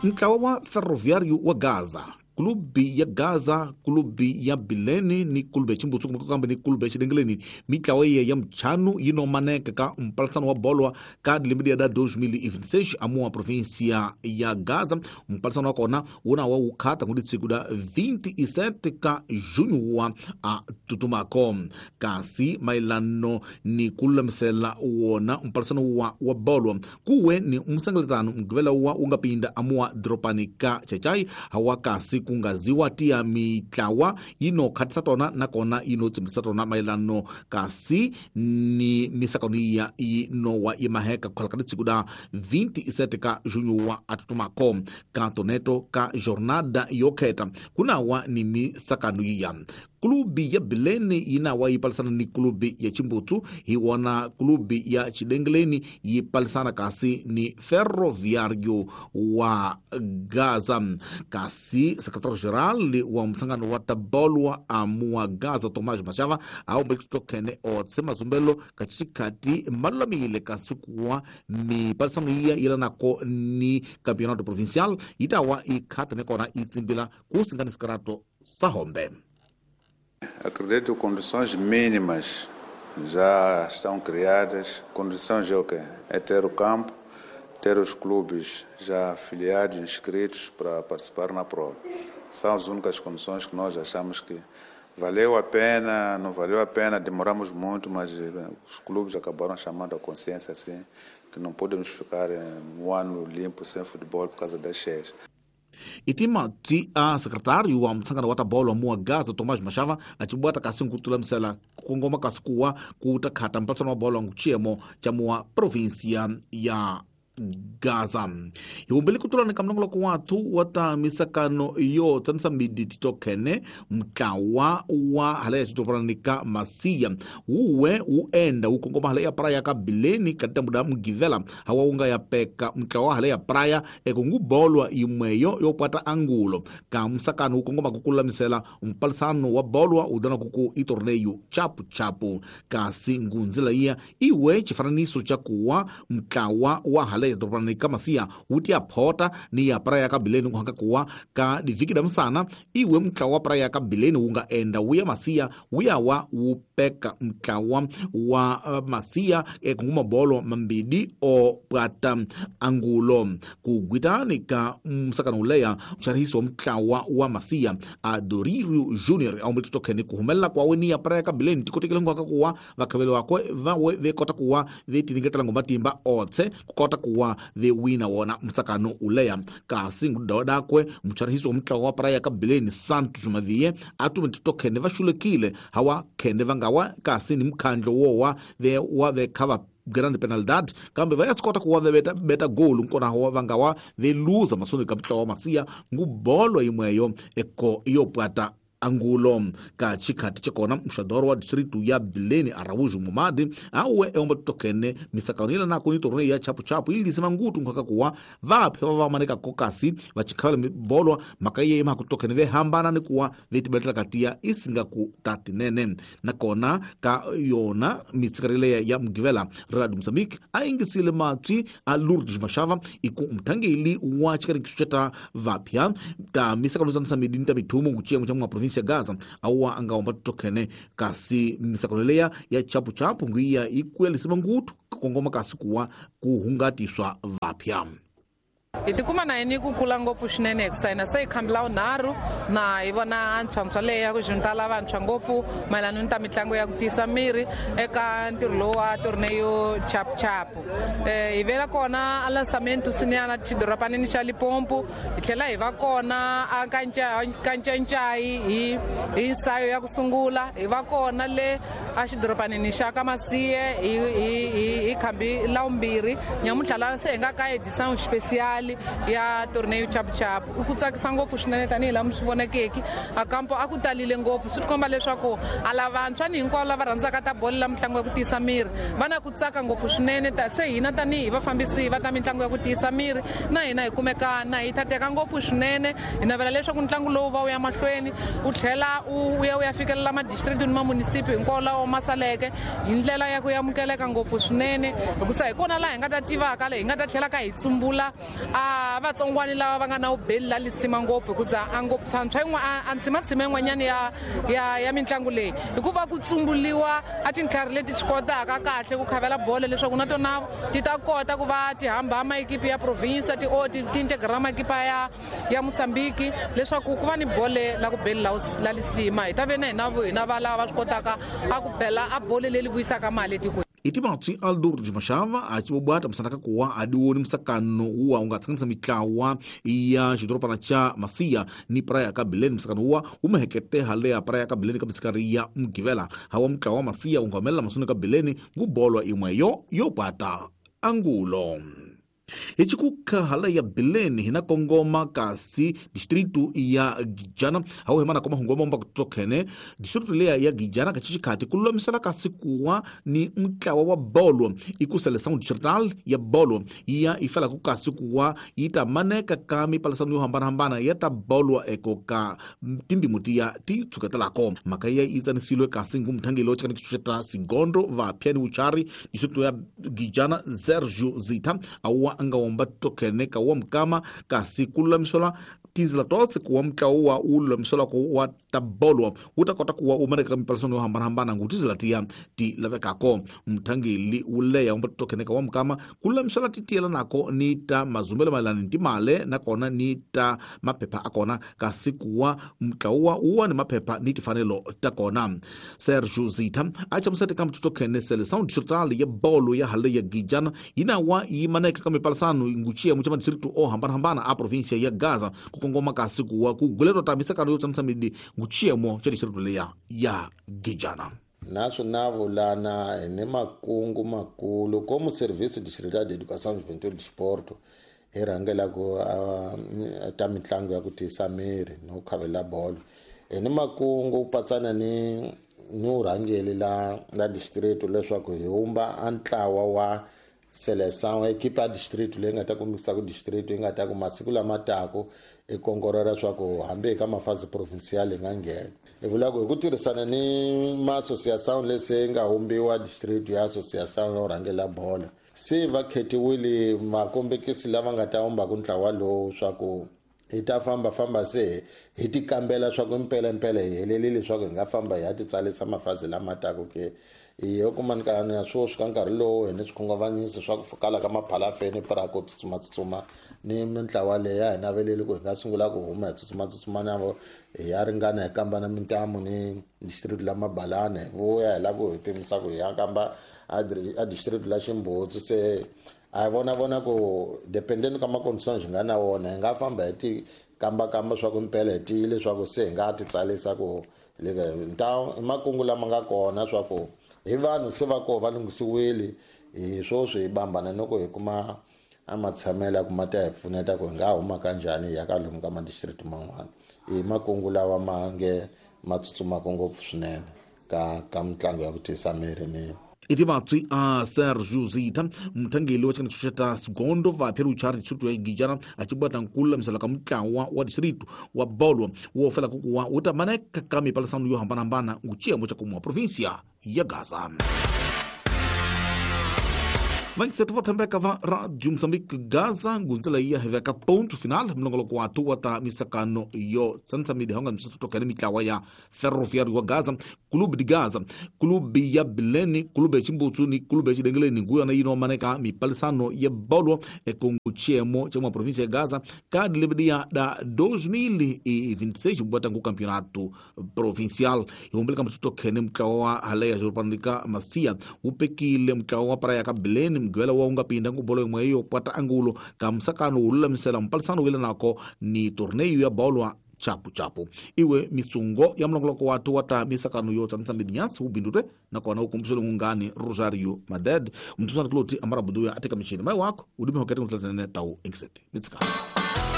Ntlawa wa Ferroviário wa Gaza, kulubi ya Gaza, kulubi ya Bilene ni kulubi ya Chimbutsu kumbe kambe ni kulubi ya Xilengeleni, mitlawa yiya ya mchanu yi no maneka ka mpalisano wa bolwa ka lembe da 2026 amuwa província ya Gaza. Mpalisano wa kona wu na wa wu khata ngudi siku da 27 ka junho wa a tutumako. Kasi mayelano ni ku lulamisela wona mpalisano wa bolwa kuwe ni msangeletano mgivela wa wu nga pinda amuwa doropani ka Chachai hawa kasi kungaziwa tia mitlawa yino khatisa tona nakona yino tsimbisa tona mayelano kasi ni misakano ya yino wa imaheka kukhala ka tsiku da 27 ka junho wa atutumako ka toneto ka jornada yokheta kunawa ni misakano ya kulubi ya Bilene yinawa yi palisana ni kulubi ya Chimbutsu, hi wona kulubi ya Xilengeleni yi palisana kasi ni Ferroviário wa Gaza. Kasi secretário-geral wa mhlangano wa tabolwa amuwa Gaza Tomás Machava awumbekitokhene otse mazumbelo ka xikhati malulamile kasi kuwa mipalisano yiya yelanako ni campeonato provincial yitawa ikhata nekona yi tsimbila ku singanisikarato sahombe. Acredito que condições mínimas já estão criadas. Condições é o quê? É ter o campo, ter os clubes já afiliados, inscritos para participar na prova. São as únicas condições que nós achamos que valeu a pena, não valeu a pena, demoramos muito, mas os clubes acabaram chamando a consciência assim, que não podemos ficar um ano limpo sem futebol por causa das cheias. Itima ti a secretário wa mtsangano wa tabolo muwa Gaza Tomás Machava achibwata kasi nkutulamisela kungoma kasi kuwa kuta khata mpalisano wa bolo nguchiemo cha muwa província ya Gaza. Hiumbili kutulana ka mlongoloko wathu wa ta misakano yo tsanisa midi titokhene mtlawa wa hala ya xidoropanani ka Masiya wuwe wu enda wu kongoma hala ya praia ka Bileni ka tambuda mugivela hawa wu nga ya peka mtlawa wa hala ya praia eko ngubolwa yimweyo yo pwata angulo ka msakano wu kongoma kukulamisela mpalisano wa bolwa wu dana kuku i torneio chapu chapu. Kasi ngunzila iya iwe xifananiso xa kuwa mtlawa wa hala ya doropani ka Masiya wu ti ya phota ni ya praia ka Bileni kuhanga kuwa ka divhiki da msana iwe mtlawa wa praia ka Bileni wu nga enda wu ya Masiya wu ya wa wu peka mtlawa wa Masiya ekunguma bolo mambidi o pwata angulo. Kugwitani ka msakano uleya mxarihisi wa mtlawa wa Masiya Adoririo Junior aumbetitokhene kuhumelela kwawe ni ya praia ka Bileni tikotekele nkuhaka kuwa vakhaveli wakwe vawe vekota kuwa vetiningetela ngomatimba otse kukota kuwa vewina wona msakano uleya. Kasi ngudawa dakwe mcharihisi wa mtlawa wa praia ka Bileni Santos Mavie atumetitokhene vaxulekile hawa khene vangawa kasi ni mkhandlo wowa wa vekhava grande penalidade kambe vayasikota kuwa vebeta beta golu nkona hawa vangawa veluza masoni ka mtlawa wa Masiya ngubolo yimweyo eko yopwata angulo. Ka xikhati xa kona mxadoro wa distritu ya Bileni Araújo Momadi awe eomba titokene misakano yelanako ni torneio ya chapuchapu ililise mangutu nkhaka kuwa vaphe va vamaneka kokasi va chikhavela mibolwa mhaka iye imaha kutokene vehambana ni kuwa vetibetela katiya isingaku tatinene. Nakona ka yona mitsikareleya ya mugivela Radio Mozambique a ingisile matwi a Lourdes Machava iku mthangeli wa xikaringiso xa ta vaphya ta misakano za msamidi ni ta mithumu nguchiemo xa mwa província ya Gaza awa angaomba titokhene kasi misakano leya ya chapuchapu ngiya ikuyelisa mangutu kongoma kasi kuwa kuhungatiswa vaphya. Hi tikuma na yini ku kula ngopfu swinene hikusa hina se hi khambila wunharhu na hi vona ntshwantshwa leyi ya ku juntala vantshwa ngopfu mayelana ni ta mitlangu ya ku tiyisa miri eka ntirho lowu wa torneio chapuchapu. Hi vela kona a lançamento sinyana xidoropanini xa Limpopo, hi tlhela hi va kona a Kancancai hi nsayo ya ku sungula, hi va kona le a xidoropanini xa ka Masiye hi khambi la vumbirhi. Nyamuntlha laha se hi nga ka edição especial ya torneio chapuchapu. I ku tsakisa ngopfu swinene tanihi laha mi swi vonekeki a kampo a ku talile ngopfu, swi tikomba leswaku a lavantshwa ni hinkwavo lava rhandzaka ta bolo la mitlangu ya ku tiyisa miri va na ku tsaka ngopfu swinene. Se hina tanihi vafambisi va ta mitlangu ya ku tiyisa miri na hina hi kumeka na hi thateka ngopfu swinene. Hi navela leswaku ntlangu lowu va wu ya mahlweni wu tlhela wu ya wu ya fikelela madistrict ni mamunisipi hinkwawo lawa ma saleke hi ndlela ya ku amukeleka ngopfu swinene, hikusa hi kona laha hi nga ta tivaka leyi hi nga ta tlhela ka hi tsumbula a vatsongwani lava va nga na vubeli la lisima ngopfu hikuza a ngopfu tshwantshwa yin'wana a ntshimantsima yin'wanyana ya mitlangu leyi hikuva ku tsumbuliwa a tintlhari leti ti kotaka kahle ku khavela bolo leswaku na tona ti ta kota ku va ti hamba maekipi ya province ti ti integra maekipa ya Mozambique leswaku ku va ni bole la ku beli la lisima hi ta ve na hina va lava va swi kotaka a ku bela a bole leri vuyisaka mali etikweni. Itimatswi Aldur Mashava achibobwata msanaka kuwa adiwoni msakano uwa ungatsanganisa mitlawa ya xidorobana cha Masia ni Praia ka Bileni. Msakano uwa umehekete hale ya Praia ka Bileni ka mitsikari ya Mgivela hawa mtlawa wa Masia ungamelela masuni ka Bileni ngubolwa imweyo yopata angulo. Hichikuka hala ya Bileni hina kongoma kasi distritu ya Gijana hau hemana koma hungoma mba kutokene distritu lea ya Gijana kachichikati kululamisela kasi kuwa ni mtlawa wa bolo ikusele sound distrital ya bolo ya ifala kukasi kuwa itamaneka kami palisanu yo hambana hambana yata bolo eko ka timbi mutia ti tsuketelako makaya itsanisilwe kasi ngumthangelo chikani kichucheta sigondo va piani uchari distritu ya Gijana Sergio Zita awa angawomba tokene ka wa mkama kasi kululamisola tinzila totse kuwa mtlawa ululamisola ku wa tabolwa utakota kuwa umaneka mipalisano yo hambana-hambana ngu tinzila tiya ti lavekako mthangeli uleya womba tokene ka wa mkama kululamisola titiyela nako ni ta mazumbelo mayelana ni timale nakona ni ta maphepha akona kasi kuwa mtlawa uwa ni maphepha ni tifanelo takona. Sergio Zita achamusete ka mtutokene seleção distrital ya bolo ya hale ya Gijana inawa imaneka ka mipalisano nguchia muchama distritu o hambana-hambana a província ya Gaza kukongoma kasi kuwa kuguletwa ta misakano yo tsanisa midi nguchiemo cha distritu leya ya Gijana. Naswo na vulana ni makungu makulu como serviço distrital de educação juventude e desporto hi rhangelaka ta mitlangu ya ku tiyisa miri no khavela bolo hi ni makungu patsana ni urhangeli la district leswaku hi humba a ntlawa wa seleção ekipa ya district leyi nga ta kombisa ku district yi nga ta ku masiku lama taku i kongorera swa ku hambi eka mafazi provincial hi nga nghena hi vula ku hi ku tirhisana ni ma-association lesi nga humbiwa district ya association yo rhangela bolo se va khetiwile makombekisi lava nga ta humbaku ntlawa lowu swa ku hi ta fambafamba se hi ti kambela swa ku mpelempele hi helelile swa ku hi nga famba hi ya ti tsalisa mafazi lama taku ke hi yo kuma nkani ya swoswi ka nkarhi lowu hi ni swikhunguvanyiso swa ku kala ka maphalafeni pfura ku tsutsumatsutsuma ni mintlawa leyi a hi naveleli ku hi nga sungula ku huma hi tsutsumatsutsuma na vo hi ya ringana hi kamba na mintamu ni district la Mabalana hi vuya hi lava ku hi pimisa ku hi ya kamba a district la Ximbutsu se a hi vona ku dependeni ka ma-conditions hi nga na wona hi nga famba hi ti kambakamba swa ku mpela hi tiyile swa ku se hi nga ti tsalisa ku nta i makungu lama nga kona swa ku hi vanhu se va koho va lunghisiwile hi swoswi hi bambana ni ku hi kuma a matshamelo ya ku ma ta hi pfuneta ku hi nga huma kanjhani hi ya ka lomu ka ma-district man'wana i makungu lawa ma nge ma tsutsumaka ngopfu swinene ka mitlangu ya ku tiyisa miri ni itimatswi a Sergio Zita mthangeli wa chikana chucheta sigondo va phela uchari distritu ya Gijana achibwata nkululamisela ka mutlawa wa distritu wa bolo wo fela kukuwa utamaneka ka mipalisano yo hambana-hambana nguchiemo cha kumwa província ya Gaza. Vangiseto vo thembeka va Radio Mozambique Gaza ngundzela iya hi veka ponto final mlongoloko wa tuwa ta misakano yo tsanisa midi honga msatutokene mitlawa ya Ferroviário wa Gaza, Clube de Gaza, Clube ya Bileni, Clube ya Chimbutsu ni Clube ya Chidengeleni nguyona yino maneka mipalisano ya bolo ekunguchiemo cha mwa província ya Gaza kadi lebedia da 2026 bwata ngu campeonato provincial ihumbeleka mtutokene mtlawa wa haleya jorpanika Masia upekile mtlawa wa Praia ka Bileni mgwela wa ungapinda ngubolo imwe yo pwata angulo ka msakano ululamisela mpalisano wile nako ni torneio ya bolwa chapu chapu iwe mitsungo ya mlongoloko watu wata misakano yo tsanisa midinyasi ubindure nakona ukumbusele ngungani Rosario Maded mtusana kuloti amarabuduya atika mishini mai wako udime hokete mtlatene tau inkseti mitsikano.